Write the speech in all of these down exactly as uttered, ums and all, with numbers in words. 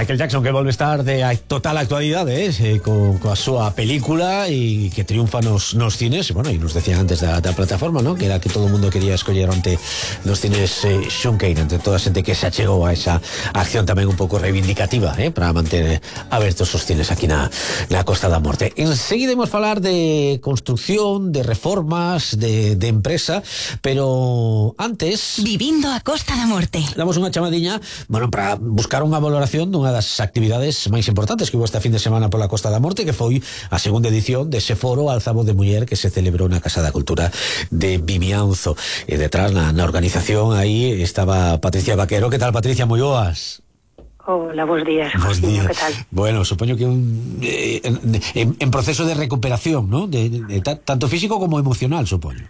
Michael Jackson, que volve estar de total actualidade, eh, co, coa súa película e que triunfa nos, nos cines. Bueno, e nos decían antes da, da plataforma, ¿no?, que era que todo o mundo quería escoller onte nos cines eh, Sean Kane, entre toda a xente que se achegou a esa acción tamén un pouco reivindicativa, eh, para manter abertos os cines aquí na, na Costa da Morte. Enseguida imos falar de construcción, de reformas, de, de empresa, pero antes... Vivindo a Costa da Morte. Damos unha chamadiña, bueno, para buscar unha valoración dunha das actividades máis importantes que hubo esta fin de semana pola Costa da Morte, que foi a segunda edición dese foro Alzavoz de Muller que se celebrou na Casa da Cultura de Vimianzo. E detrás, na, na organización, aí estaba Patricia Vaquero. Que tal, Patricia? Moi boas. Hola, bons días. Bons días. Que tal? Bueno, supoño que un, eh, en, en proceso de recuperación, ¿no? De, de, de, tanto físico como emocional, supoño.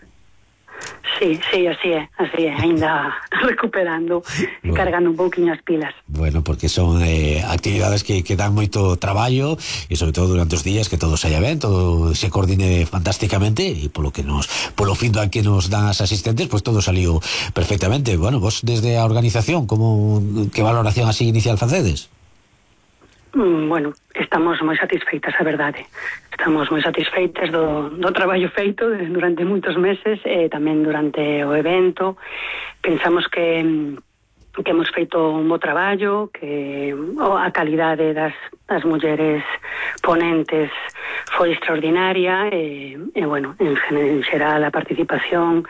Sí, sí, así é, así é, ainda recuperando e bueno, cargando un pouquinho as pilas. Bueno, porque son eh, actividades que, que dan moito traballo e sobre todo durante os días que todo saia ben, todo se coordine fantásticamente e polo que nos polo feedback que nos dan as asistentes, pues todo saliu perfectamente. Bueno, vos desde a organización, como que valoración así inicial facedes? Mm, bueno, estamos moi satisfeitas, a verdade. Estamos moi satisfeitas do, do traballo feito durante moitos meses e tamén durante o evento. Pensamos que, que hemos feito un bo traballo, que a calidade das, das mulleres ponentes foi extraordinaria e, e bueno, en, en xeral a participación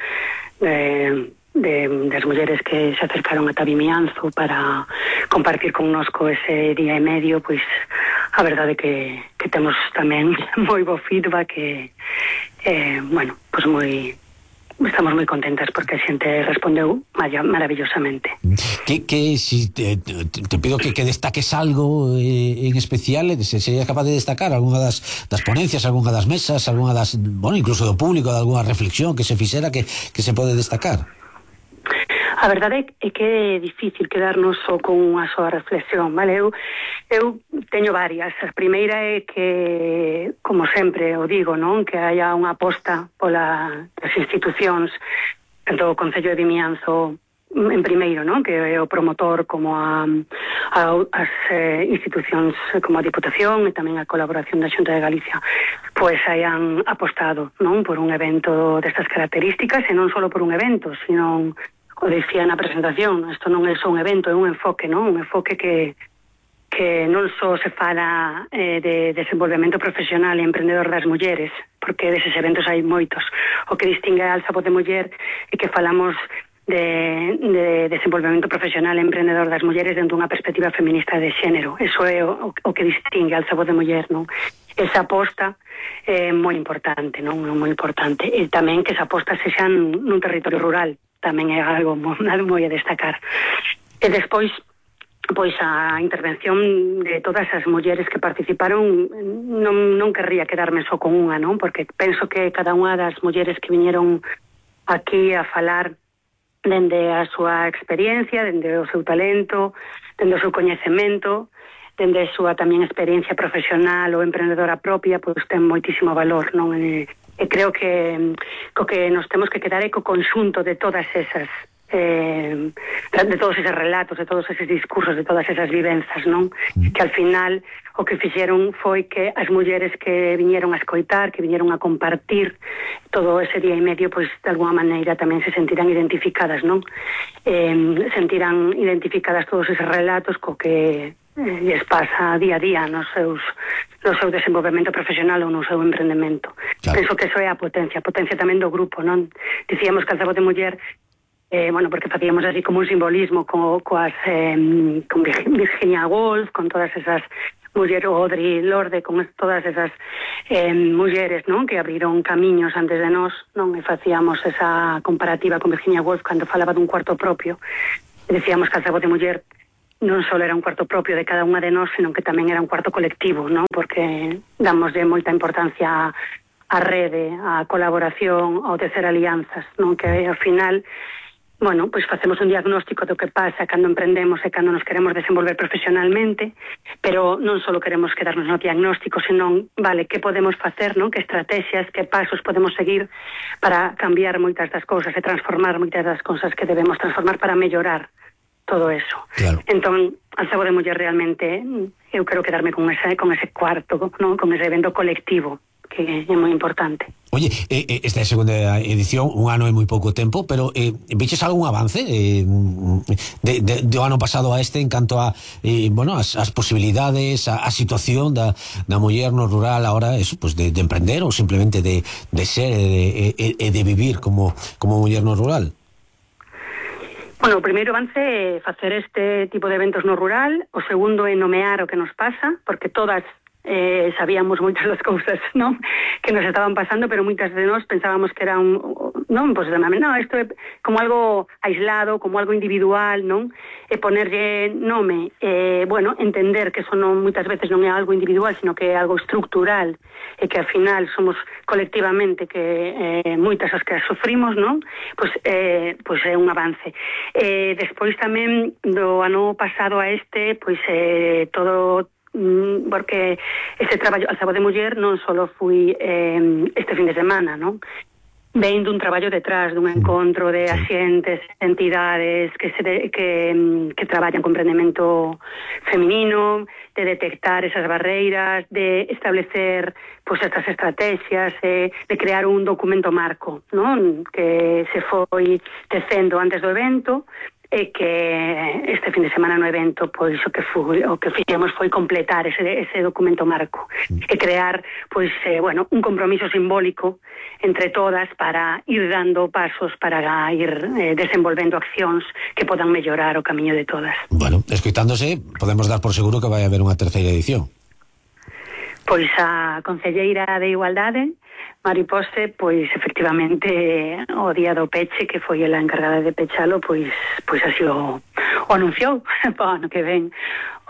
eh, de, das mulleres que se acercaron ata Vimianzo para compartir connosco ese día e medio, pois a verdade que, que temos tamén moi bo feedback e, eh, bueno, pois moi estamos moi contentas porque a xente respondeu maravillosamente. Que, que si te, te, te pido que, que destaques algo eh, en especial, se sería capaz de destacar algunha das, das ponencias, algunha das mesas, algunha das, bueno, incluso do público, de algunha reflexión que se fixera que, que se pode destacar. A verdade é que é difícil quedarnos só con unha soa reflexión, vale? Eu, eu teño varias. A primeira é que, como sempre o digo, non? Que haya unha aposta pola das institucións do Concello de Vimianzo en primeiro, non? Que é o promotor como a, a as eh, institucións como a Diputación e tamén a colaboración da Xunta de Galicia pois hayan apostado, non? Por un evento destas características e non só por un evento, sino o dicía na presentación, isto non é só un evento, é un enfoque, non? Un enfoque que que non só se fala eh, de desenvolvemento profesional e emprendedor das mulleres, porque deses eventos hai moitos. O que distingue a Alzavoz de Muller é que falamos de, de desenvolvemento profesional e emprendedor das mulleres dentro dunha perspectiva feminista de xénero. Eso é o, o que distingue a Alzavoz de Muller, non? Esa aposta é moi importante, non? Moi importante. E tamén que esa aposta sexa nun territorio rural, tamén é algo moi, moi a destacar. E despois, pois a intervención de todas as mulleres que participaron, non, non querría quedarme só con unha, non? Porque penso que cada unha das mulleres que viñeron aquí a falar dende a súa experiencia, dende o seu talento, dende o seu coñecemento, dende a súa tamén experiencia profesional ou emprendedora propia, pois ten moitísimo valor, non? E, e creo que co que nos temos que quedar é co conxunto de todas esas eh, de todos eses relatos, de todos eses discursos, de todas esas vivenzas, non? Que al final o que fixeron foi que as mulleres que viñeron a escoitar, que viñeron a compartir todo ese día e medio, pois de alguma maneira tamén se sentirán identificadas, non? Eh, sentirán identificadas todos eses relatos co que lles pasa día a día nos seus, no seu desenvolvemento profesional ou no seu emprendemento. Claro. Penso que eso é a potencia, a potencia tamén do grupo, non? Dicíamos que Alzavoz de Muller, eh, bueno, porque facíamos así como un simbolismo co, coas, eh, con Virginia Woolf, con todas esas mulleres, Audre Lorde, con todas esas eh, mulleres, non? Que abriron camiños antes de nós, non? E facíamos esa comparativa con Virginia Woolf cando falaba dun cuarto propio. E decíamos que Alzavoz de Muller non só era un cuarto propio de cada unha de nós, senón que tamén era un cuarto colectivo, non? Porque damos de moita importancia á rede, á colaboración, ao tecer alianzas, non? Que ao final, bueno, pois facemos un diagnóstico do que pasa cando emprendemos e cando nos queremos desenvolver profesionalmente, pero non só queremos quedarnos no diagnóstico, senón, vale, que podemos facer, non? Que estrategias, que pasos podemos seguir para cambiar moitas das cousas e transformar moitas das cousas que debemos transformar para mellorar todo eso. Claro. Entón, Alzabo de Muller realmente, eu quero quedarme con ese, con ese cuarto, ¿no? Con ese evento colectivo, que é moi importante. Oye, eh, esta é a segunda edición, un ano é moi pouco tempo, pero eh, veches algún avance eh, de, de, do ano pasado a este en canto a eh, bueno, as, as posibilidades, a, a situación da, da muller no rural ahora, eso, pues de, de emprender ou simplemente de, de ser e de, de, de vivir como, como muller no rural? Bueno, o primeiro avance é facer este tipo de eventos no rural, o segundo é nomear o que nos pasa, porque todas eh, sabíamos moitas das cousas, non? Que nos estaban pasando, pero moitas de nós pensábamos que era un, non, pois, pues, non, isto é como algo aislado, como algo individual, non? E ponerlle nome, eh, bueno, entender que eso non, moitas veces non é algo individual, sino que é algo estructural, e que ao final somos colectivamente que eh, moitas as que as sufrimos, non? Pois, eh, pois é un avance. Eh, despois tamén do ano pasado a este, pois eh, todo porque este traballo Alzabo de Muller non só fui eh, este fin de semana, non? Ven dun traballo detrás, dun encontro de axentes, entidades que, se de, que, que traballan con emprendemento feminino, de detectar esas barreiras, de establecer pues, estas estrategias, eh, de crear un documento marco, non? Que se foi tecendo antes do evento, e que este fin de semana no evento pois o que foi, o que fixemos foi completar ese, ese documento marco e crear pois eh, bueno, un compromiso simbólico entre todas para ir dando pasos para ir eh, desenvolvendo accións que podan mellorar o camiño de todas. Bueno, escoitándose, podemos dar por seguro que vai haber unha terceira edición. Pois a concelleira de Igualdade, Mari Pose, pois efectivamente o día do peche, que foi ela encargada de pechalo, pois pois así o, o anunciou para o ano que ven,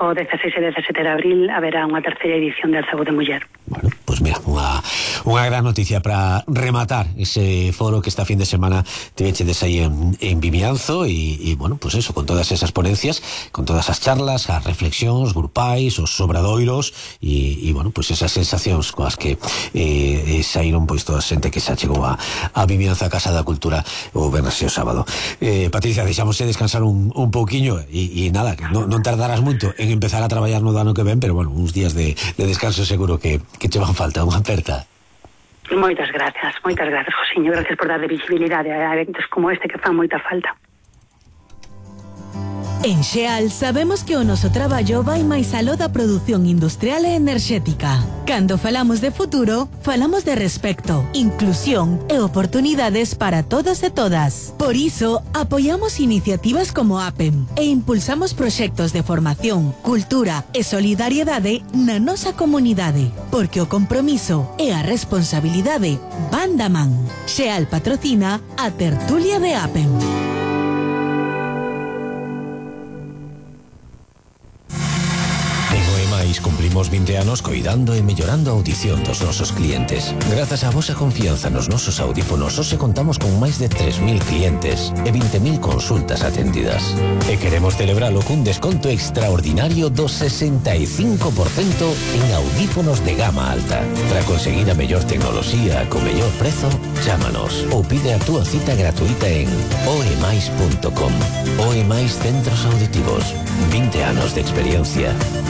o dezaseis e dezasete de abril haberá unha terceira edición de Alzabo de Muller. Bueno, pois mira, unha, unha gran noticia para rematar ese foro que esta fin de semana te vechedes aí en, en Vimianzo e, e, bueno, pues eso, con todas esas ponencias, con todas as charlas, as reflexións grupais, os obradoiros e, e bueno, pues esas sensacións coas que eh, saíron pois toda a xente que xa chegou a, a Vimianzo, a Casa da Cultura o venres e o sábado. Eh, Patricia, deixámosle descansar un, un pouquiño e, e nada, que non, non tardarás moito en empezar a traballar no ano que ven, pero bueno, uns días de, de descanso seguro que, que che van falta, unha aperta. Moitas gracias, moitas gracias, Josiño, gracias por darle visibilidade a eventos como este que fan moita falta. En Xeal sabemos que o noso traballo vai máis aló da produción industrial e enerxética. Cando falamos de futuro, falamos de respecto, inclusión e oportunidades para todos e todas. Por iso, apoiamos iniciativas como APEM e impulsamos proxectos de formación, cultura e solidariedade na nosa comunidade, porque o compromiso e a responsabilidade van da man. Xeal patrocina a tertulia de APEM. Cumplimos vinte anos coidando e mellorando a audición dos nosos clientes. Grazas á vosa confianza nos nosos audífonos, hoxe contamos con máis de tres mil clientes e vinte mil consultas atendidas. E queremos celebralo cun desconto extraordinario do sesenta e cinco por cento en audífonos de gama alta. Para conseguir a mellor tecnoloxía co mellor prezo, chámanos ou pide a túa cita gratuita en oemais punto com. Oemais Centros Auditivos. vinte anos de experiencia.